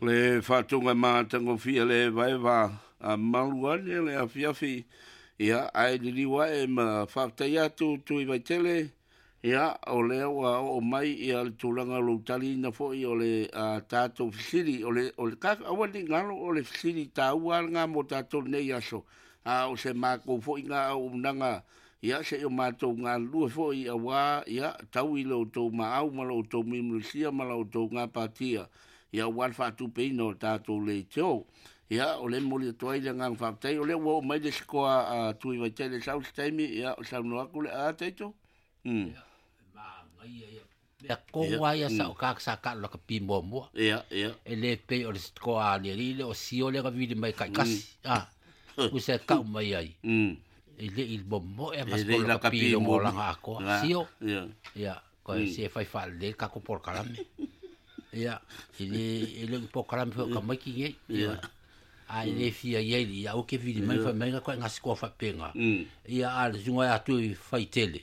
Le faatoga matagofie le evaeva a malu ane le afiafi, ia, ae liliu ae ma faafetai atu Tui Vaitele, ia, o lea ua oo mai ia le tulaga o lou taliina foi o le tatou fesili, o le, o le, aua ne i galo, o le fesili taua lava lena mo tatou nei aso, a o se matou foi na auaunaga, ia, se i o matou galulue foi aua, ia, tau i lo outou maau ma lo outou mulimulisia ma lo outou gapatia, ia aua le faatupeina o tatou leitio. Ia, o lea e momoli atu ai le agaga faafetai, o lea ua oo mai le isi toa a Tui Vaitele e sau se taimi, ia, saunoa atu le a Taito. Ia, manaia ia. Mea tonu lava ia sa o ka sa ka lakapi muamua. Ia, ia. E le pei o le toa a le alii lea o Sio lea na vili mai taitasi. Ah, usa e tau mai ai. E le i momoe ma E le i se lakapi lakapi i muamua. olaga atoa. Sio. Ia. Ia, koe se fai faalelei le tatou polokalame. Ia, e le e le o ni polokalame foi o tamaiti nei. Ia. A e le fia i ai ia aua e te vili mai fai mai na koe gasikoa faapena. Ia a o le susuga ia Tui Faitele,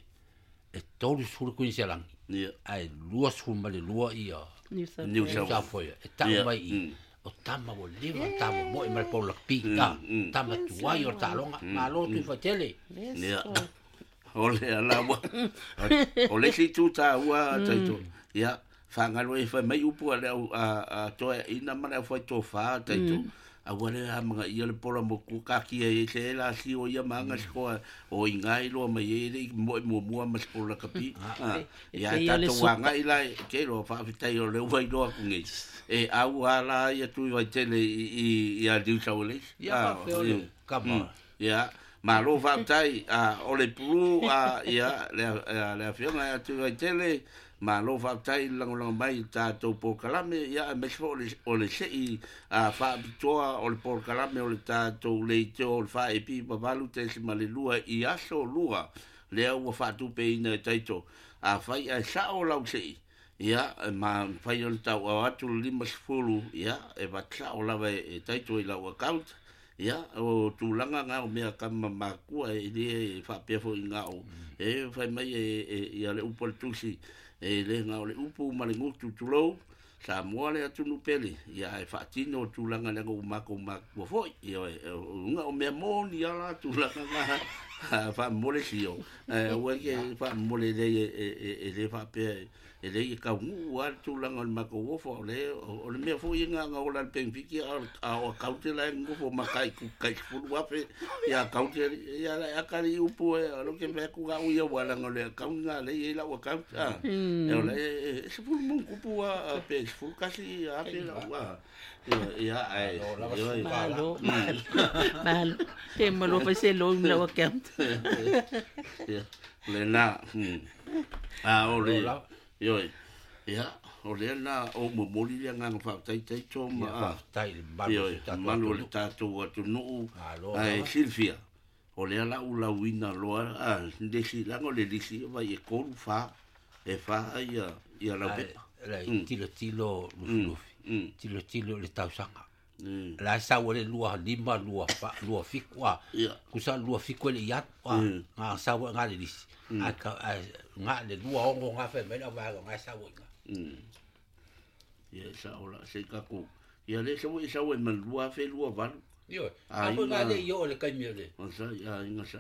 e 30 Kuiniselani. Ia. Ae 22 ia New South New Wales. South South Wales. E tau mai i i, o tama ua leva ona ta momoe ma le pou lakapi. Tama tuai o le taaloga. Malo Tui Faitele. Yes. Ia. O le ala ua. O le isi itu taua Taito. Ia, fagalo e fai mai upu a le au a toeaina ma le aufai tofa Taito. Aua le amagaia le pola motu kakia e se la sio ia ma anga sikoa o inga i loa mai e le i moe muamua ma se pola lakapi. E Ia pei o le tatou suka. agai la e ke loa faafetai o le ua iloa atu nei. E au ala ia Tui Vaitele i ia New South Wales. Ia faafefea o le kama. Ia, malo faafetai o le pulu ia le afioga ia Tui Vaitele, malo faafetai i le lagolago mai i le tatou polokalame, ia aemaise foi o le sei faapitoa o le polokalame o le tatou leitio o le 4AP 8.2 i aso lua, lea ua faatupeina e Taito. Afai ae sao lau sei, ia, ma mafai ona tauao atu le 50, ia, e vatasao lava e Taito i lau account. Ia, o tulaga na o mea kama makua e le faapea foi ngā o. E fai mai e ia le upu a le tusi, e le ngā o le upu ma le gutu tulou, Samoa le atunu pele, ia e faatino o tulaga leaga ua matou makua foi. Ia, o luga o mea moni ala tulaga ngā faamomole sio. Aua ke faamomole lei e le faapea e le i kaunuu a le tulaga o le matou ofo, o le mea foi e ngā ola le penefiti a o account la e nofo ma kai ku kai 10,000 ia account ia la akali upu e o lo ke mea ku ngā uia wala ngā le account ngā le i lau account e o la e 10 mun kupu a pe 10 kasi a pe lau a ia ai Malo lava ia suka. Malo, malo, malo. Ke malo fai se loan lau account. Ia le na a o le Malo lava. Ioi, ia, o lea na o momoli le agaga faafetai Taito ma Ia faafetai i le malu o Ioi, si tatou malu o le atunuu. tatou atunuu. Malo Ae lava. silafia, o lea la u lauina loa, lesi laga o le lisi vai e 3 4, e 4 ia, ia lau Ae, pepa. la i tilotilo Lufilufi. Tilotilo i le tausaga. La e sau ai le 25, 24, 27, a. Ia. Kusa 27 e le i atu, a. Ngā sau ai ngā le lisi. Ae ka, ae ngā le 26 ngā whai mai le au vaega ngā e sau ai ngā. Ia, sa o la, se kako. Ia le sau e sau e ma 2028. Ioe, A a foi ngā inga- le i o le kaimi o le. O sa, ia inga sa.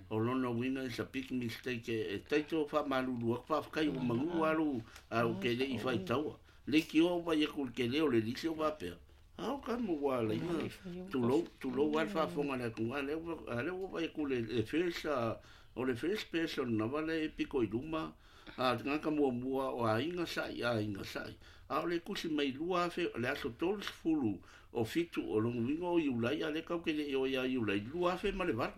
O lona uiga is a big mistake e Taito faamalulu atu faafetai ua manu alu au ke le i faitaua. Le ki o vai aku le ke le o le lisi o faapea. A o ka mo ua laina tulou tulou a le faafofoga le atu a lea ua vai aku le first o le first person lava le piko i luma a le tagata muamua o aiga sa'i aiga sa'i. A o le tusi mai 2000 le aso 30 o 7 o lona uiga o Iulai a lea tatou te le i o ia Iulai 2008.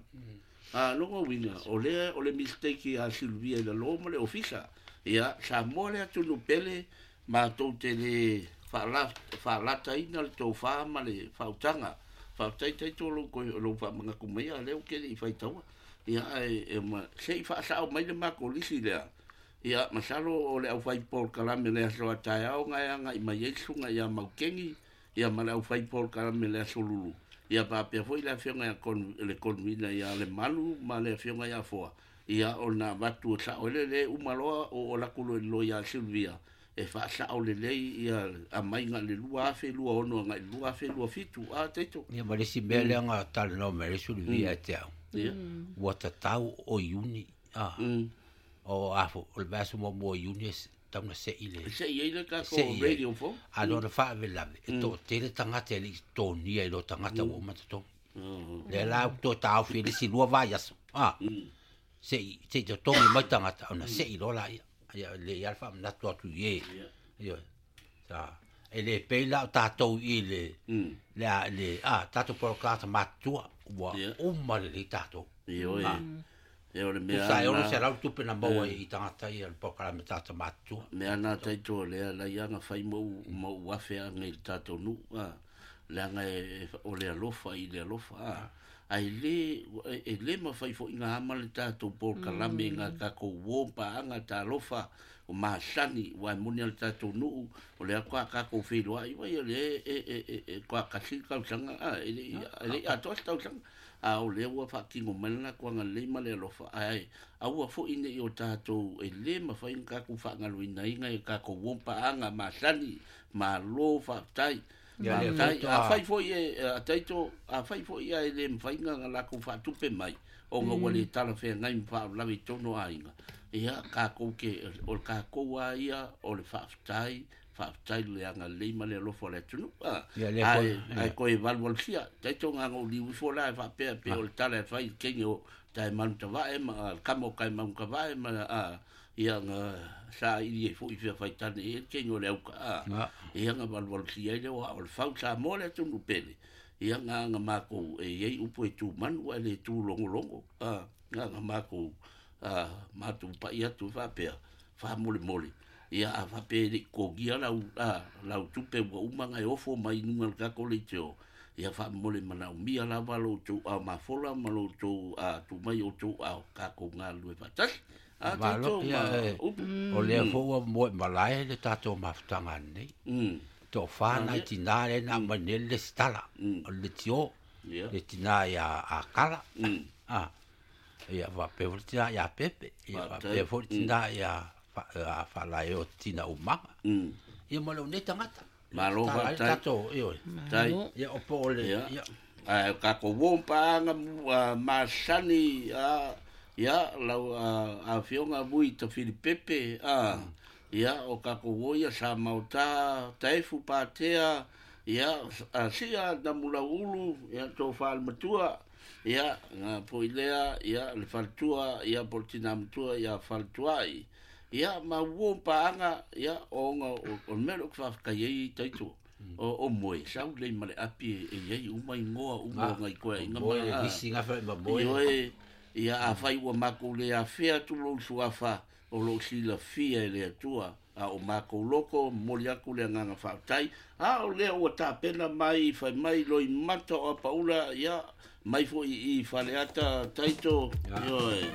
A lona uiga o lea o le mistake a Silvia i lalo ma le ofisa. Ia Samoa le atunu pele matou te le faalataina le tofa ma le faautaga. Faafetai Taito lou lou faamanatu mai a lea ou te le i faitaua. Ia ae e ma se i faasao mai le matou lisi lea. Ia masalo o le aufai polokalame le aso a taeao nga e agai mai ai le susuga ia Maukeni, ia ma le aufai polokalame le aso Lulu. Ia faapea foi le afioga ia le convener ia Le Malu ma le afioga ia Foa. Ia ona avatu e sao ai le le uma loa o o laku loa ia Silvia. e faasao lelei ia aumaiga i le 2026 agai i le 2027 a Taito. Ia ma le isi mea lea na talanoa mai ai le Sulivia ia te au, ua tatau o Iuni, a, o a fo, o le vaiaso muamua o Iuni e tatau ona sei le E sei ai le tatou sei ai. radio fou. A lona faalavelave, e toatele tagata e le i totogia i lo tagata ua uma totogi. Lea la ua toe taofi ai le isi 2 vaiaso, a, sei sei totogi mai tagata ona sei loa laia. Ia e lelei lava le faamanatu atu i e, ioe. Sa e le pei la o tatou i le le a le a tatou polokalame matutua ua uma lelei tatou. Ioe. Ia o le mea Tusa e lena. 600 tupe na maua i tagata ia o le polokalame tagata matutua. Mea na taito o lea lai aga fai ma ou ma ou afe aga i le tatou nuu a leaga e o le alofa i le alofa a ae le e le mafai foi ona ama le tatou polokalame i ngā tatou uo ma paaga talofa o masani aua e moni lava le tatou nuu o lea faatoa tatou feiloai ai o lea e e e faatoa tasi le tausaga a e le i atoa se tausaga a o lea ua faatino mai le latou agalelei ma le alofa ae aua foi ne i o tatou e le mafai ona tatou faagalueina i tatou uo ma paaga masani malo faafetai. Ia lea Faafetai. faatoa. Afai foi e a Taito, afai foi ae le mafai ona latou faatupe mai, ona ua le talafeagai ma faalavelave i totonu o aiga, ia tatou te, o le tatou lava ia o le faafetai, faafetai i le agalelei ma le alofa o le atunuu. A, Ia lea ae, foi, ae ia. toe valuvalusia. Taito na ona ou liu ifo la e faapea pei o le tala e fai i le teine o Taemanutavae ma le kama o Taemanutavae ma a, ia na saili ai foi fia faitane i ai le teine o le auka a. Ia na valuvalusia ai lea o le fau Samoa le atunuu pele. Ia na na matou e i ai upu e tu manu ae le tu logologo. A, na na matou a, matou pai atu faapea, faamolemole. Ia a faapea e le i totogia lau, a, lau tupe ua uma ona e ofo mai i luga o le tatou leitio. Ia faamomole manaomia lava lo outou ao mafola ma lo outou a, tuu mai o outou ao tatou galulue faatasi. A, Malo, tatou ia, ma e, upu. o lea foi ua moe malae le tatou mafutaga nei. Toafa nai tinā lea na aumai nei le lesitala, o le leitio, Ia. le tinā ia Akala, a, ia faapea foi le tinā ia Pepe, ia Faafetai. faapea foi le tinā ia Faalaeo Tina Umaga. Ia ma lou nei tagata. Malo, Tala ai le faafetai. tatou, ioe. Tai. Ia, o po o le, Ia. ia. Ae o tatou uo ma paaga masani a, ia lau a, afioga Vui Tafilipepe a, ia o tatou uo ia sa maota taefu patea ia a, sia namulaulu ia tofa le matua ia nga foi lea ia le faletua ia po le tina matua ia faletuai ia ma uo ma paaga ia ona o le mea lea ou te faafetai ai taito o moe sau lelei ma le api e i ai uma igoa uma o ngai koeaiga Moe, ma le visi gafa ma moe. Ioe, ia afai ua matou le afea atu lou suafa o lou silafia e le Atua a o matou loko momoli atu le agaga faafetai a o lea ua tapena mai fai mai loimata o Apaula ia mai foi i Faleata Taito ioe.